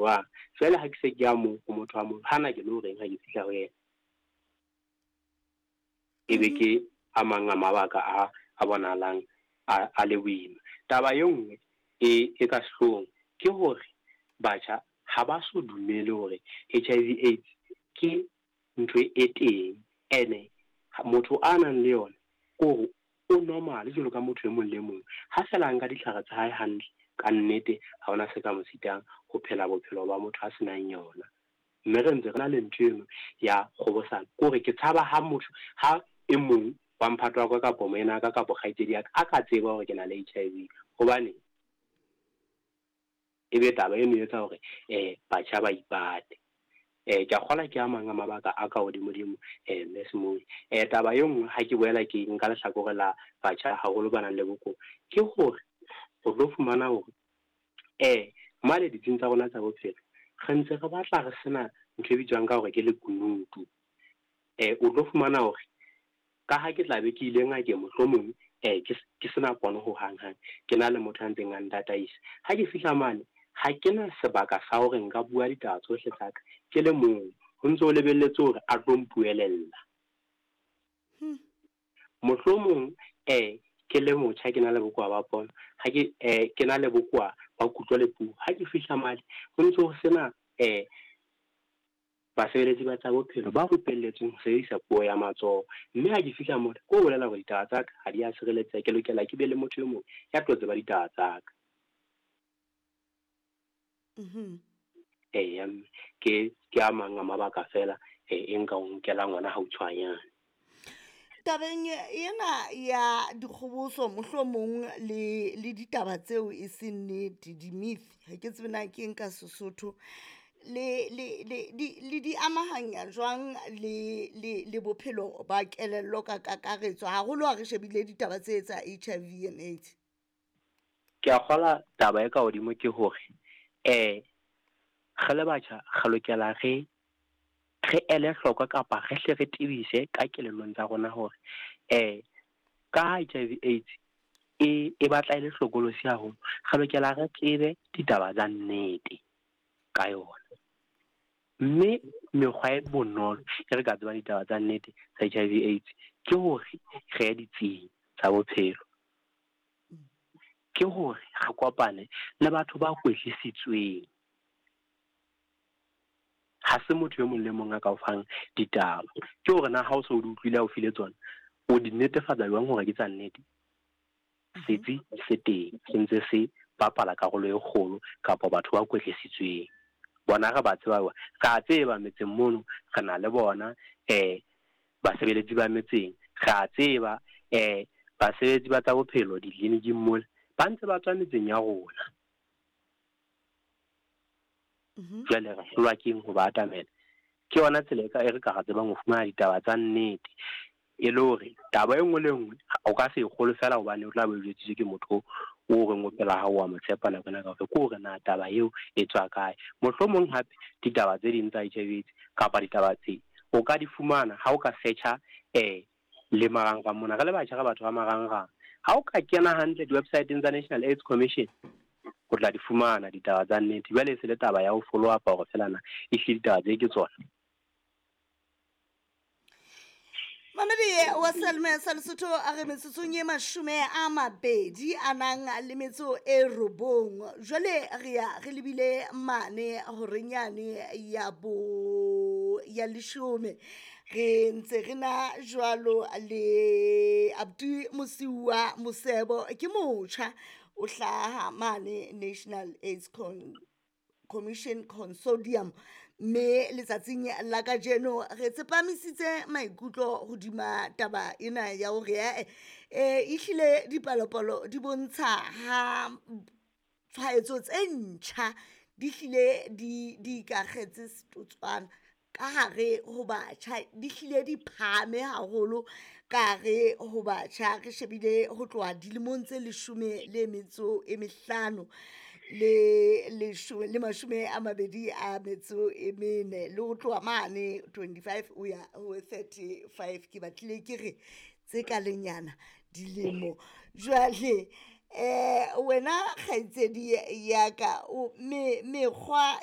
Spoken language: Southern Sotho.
jwang. Jwale ha ke se ke ya moo ho motho wa moo, hana ke lo reng ha ke fihla ho yena? Ebe ke a mang a mabaka a bonahalang a le boima. Taba e nngwe e ka sehloohong ke hore batjha ha ba so dumele hore HIV AIDS ke ntho e teng, ene motho a nang le yona ke hore o normal jwalo ka motho e mong le mong. Ha feela a nka ditlhare tsa hae hantle, ka nnete ha hona se ka mo sitang ho phela bophelo ba motho a senang yona. Mme re ntse re na le ntho eno ya kgobosano, ke hore ke tshaba ha motho, ha e mong wa mphato wa ka kapo moena ka kapo kgaitsedi ya ka a ka tseba hore ke na le HIV. Hobane ebe taba eno e etsa hore batjha ba ipate. Ke a kgolwa ke a mang a mabaka a ka hodimodimo, Mme Semoi. Taba e nngwe ha ke boela ke nka lehlakore la batjha haholo ba nang le bokowa, ke hore o tlo fumana hore mane ditsing tsa rona tsa bophelo re ntse re batla re sena ntho e bitswang ka hore ke lekunutu. O tlo fumana hore ka ha ke tla be ke ile ngakeng mohlomong ke sena pono ho hang hang, ke na le motho a ntseng a ntataisa. Ha ke fihla mane ha ke na sebaka sa hore nka bua ditaba tsohle tsa ka ke le mong, ho ntso ho lebelletse hore a tlo mpuelella. Mohlomong ke le motjha ke na le bokowa ba pono, ha ke ke na le bokowa ba kutlo le puo. Ha ke fihla mane ho ntso ho sena basebeletsi ba tsa bophelo ba rupelletsweng ho sebedisa puo ya matsoho. Mme ha ke fihla mona, ke ho bolela hore ditaba tsa ka ha di a sireletseha, ke lokela ke be le motho e mong ya tlo tseba ditaba tsa ka. Eya, mme ke a mang a mabaka fela e nka o nkelang ona hautshwanyane. Tabeng ena ya dikgoboso mohlomong le ditaba tseo e seng nnete, di-myth, ha ke tsebe na ke eng ka Sesotho, le di amahanya jwang le bophelo ba kelello ka kakaretso, haholo ha re shebile ditaba tse tsa HIV and AIDS? Ke a kgolwa taba e ka hodimo ke hore re le batjha re lokela re ele hloko kapa re hle re tebise ka kelellong tsa rona hore ka HIV AIDS e batla e le hlokolosi haholo, re lokela re tsebe ditaba tsa nnete ka yona. Mme mekgwa e bonolo e re ka tsebang ditaba tsa nnete tsa HIV AIDS ke hore re ye ditsing tsa bophelo, ke hore re kopane le batho ba kwetlisitsweng. Ha se motho e mong le mong a ka o fang ditaba. Ke hore na ha o so o di utlwile ha o file tsona, o di netefatsa jwang hore ke tsa nnete? Setsi se teng, se ntse se bapala karolo e kgolo, kapa batho ba kwetlisitsweng. Bona re ba tseba, re a tseba metseng mono, re na le bona basebeletsi ba metseng, re a tseba basebeletsi ba tsa bophelo ditleliniking mole, ba ntse ba tswa metseng ya rona. Jwale re hlolwa ke eng ho ba atamela? Ke yona tsela e re ka re tsebang ho fumana ditaba tsa nnete, e le hore taba e nngwe le nngwe o ka se e kgolwe fela hobane o tla be o jwetsitswe ke motho o reng o phela ha o a mo tshepa nako ena kaofela. Ke hore na taba eo e tswa kae. Mohlomong hape ditaba tse ding tsa HIV AIDS kapa ditaba tse o ka di fumana ha o ka search-a le marangrang mona. Re le batjha re batho ba marangrang. Ha o ka kena hantle di-website-eng tsa National AIDS Commission, o tla di fumana ditaba tsa nnete. Jwale e se le taba ya ho follow up hore fela na ehlile ditaba tse ke tsona. Mamedi wa Selme sa Lesotho, a re metsotsong e 29 a nang le metso e 9. Jwale re ya re lebile mane horenyane ya bo ya 10. Re ntse re na jwalo le Abdi Mosiuwa Mosebo, ke motjha o hlaha mane National AIDS Commission Consortium, mme letsatsing la kajeno re tsepamisitse maikutlo hodima taba ena ya hore ehlile dipalopalo di bontsha ha tshwaetso tse ntjha di hlile di ikakgetse setotswana ka hare ho batjha, di hlile di phahame haholo ka hare ho batjha. Re shebile ho tloha dilemong tse 15 le 24 le ho tloha mane 25 ho ya ho 35. Ke batlile ke re tse ka lenyana dilemo. Jwale wena kgaitsedi ya ka, mekgwa